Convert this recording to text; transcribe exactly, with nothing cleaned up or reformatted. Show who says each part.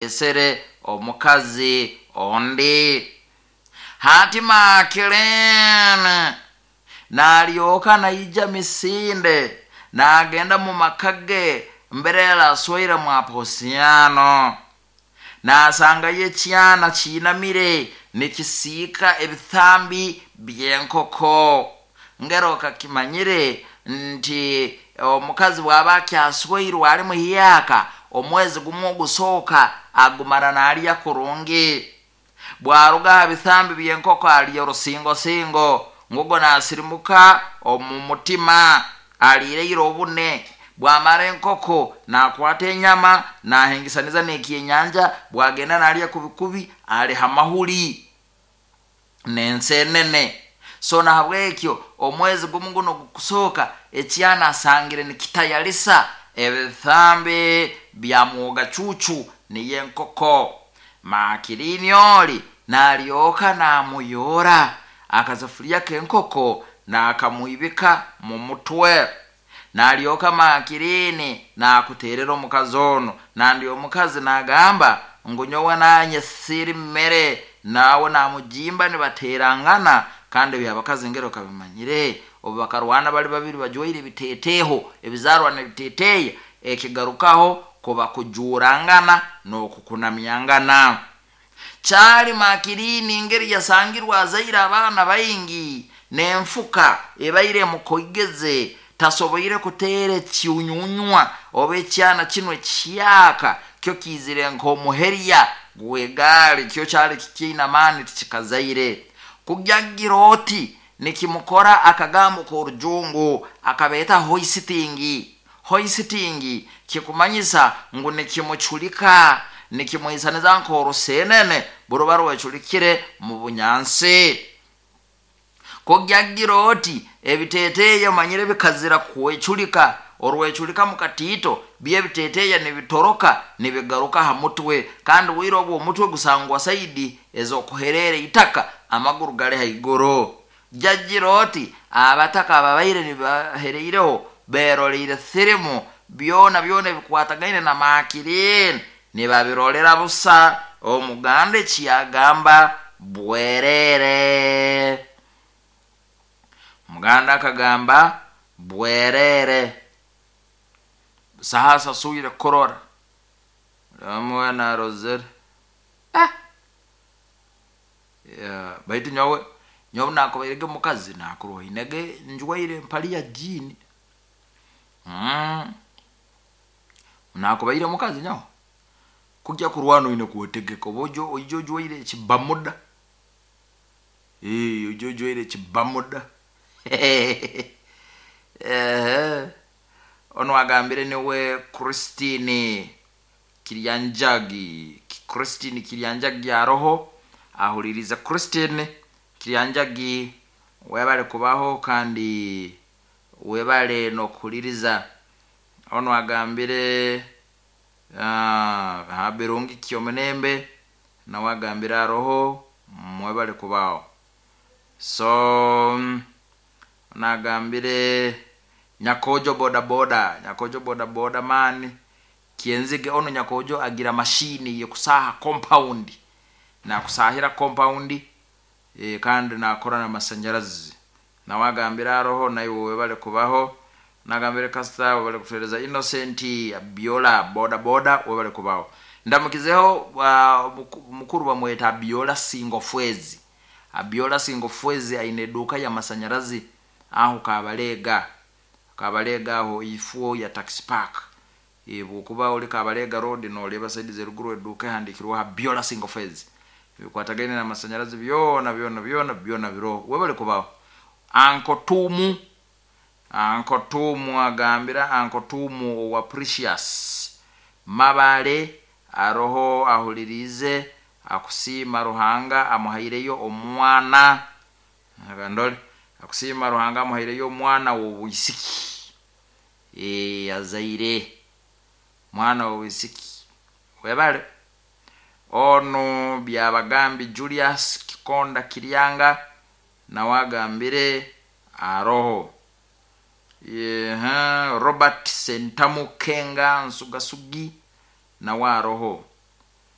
Speaker 1: Alesere omukazi ondi. Hati Makirini nalyoka naija misinde, nagenda mu maka ge mbere yaraswaire mwa Posiano, nasangayo ekyana kiinamire nikisiika ebithambi by'enkoko. Ngero kakimanyire nti omukazi bw'aba akyaswairwe ali muhyaka, omwezi gumu ogusooka agumara nalya kurungi, bwaruga ha bithambi by'enkoko alya orusingosingo, ngugo nasirimuka omu mutima aliireire obune. Bwamara enkoko nakwata enyama nahengesaniza n'ekyenyanja, bwagenda nalya kubikubi ali ha mahuli n'ensenene. So nahabwekyo omwezi gumu guno gukusooka ekyana asangire nikitayalisa ebithambi bya mwoga cucu niyo enkoko. Makirini oli nalyoka namuyora akasafuliya k'enkoko nakamwibika mu mutwe. Nalyoka Makirini nakuterera omukazi ono, nandi omukazi nagamba ngu nyowe nanye siri mmere, nawe namujimba nibaterangana. Kandi ebyabakazi ngero kabimanyire, obu bakarwana bali babiri bajwaire ebiteteho ebizarwa n'ebiteteya, ekigarukaho kuba kujurangana n'okukunamyangana. Kyali Makirini ngeri yasangirwe azaire abaana baingi n'enfuka ebaire emukoigeze, tasoboire kuteera ekyunyunywa oba ekyana kinu ekihyaka kyo kiizire nk'omuherya gw'egaali, kyo kyali kikiine amaani tikikazaire. Kugyagira oti nikimukora akagambo k'orujungu akabeeta hoisting. Hoisting kikumanyisa ngu nikimuculika, nikimuhisaniza nk'orusenene buruba rweculikire mu bunyansi. Kugyagira oti ebiteteya omanyire bikazira kweculika, orweculika mu katiito byebiteteya nibitoroka nibigaruka ha mutwe, kandi bwire obwo omutwe gusangwa saidi ez'okuherera itaka, amaguru gali haiguru. Jagira oti abataka ababaire nibahereireho beroleire firimu byona byona ebikwatagaine na Makirini nibabirolera busa. Omuganda ekiyagamba bwerere, omuganda akagamba bwerere, saha asasuire kurora omuwe narozere. Ah, yeah, baitu nyowe nyowe nakubairege mukazi nakuroinege njwaire empali ya jiini. mm. Nakubaire mukazi nyowe kujya kurwana oine kwetegeka, oba oija oija ojwaire ekibamuda, ee oija ojwaire ekibamuda. Ehe, onu agambire niwe Christine Kiryanjagi. Christine Kiryanjagi aroho ahulirize. Christine Kiryanjagi, webale kubaho kandi webale n'okuhuliriza. Onu agambire uh, Birungi Kyomunembe, nawe agambire aroho, mwebale kubaho. So nagambire Nyakojo bodaboda, Nyakojo bodaboda mani kyenzige ono Nyakojo agira mashini yekusaha compound, nakusahira compound e, kandi nakora n'amasanyarazi, nawe agambire aroho, naiwe webale kubaho. Nagambire Kasita webale kutuhereza. Innocent Abiola boda boda webale kubaho. Ndamukizeho uh, mukuru bamweta Abiola Singofwezi. Abiola Singofwezi aine eduka y'amasanyarazi aho Kabalega, Kabalega aho ifuo ya taxi park. E, bwokuba oli Kabalega road noleba saidi zeruguru, eduka ehandikirweho Abiola Singofwezi, bikwatagaine n'amasanyarazi byona byona byona byona biroho, webale kubaho. Anko Tumu, Anko Tumu agambira, Anko Tumu owa Precious Mabale aroho ahulirize, akusiima Ruhanga amuhaireyo omwana. Ndole akusiima Ruhanga amuhaireyo omwana w'obwisiki, e, azaire mwana w'obwisiki, webale. Onu Byabagambi Julius Kikonda Kiryanga nawe agambire aroho. Yeha, Robert Sentamu Kenga Nsugasugi nawe aroho.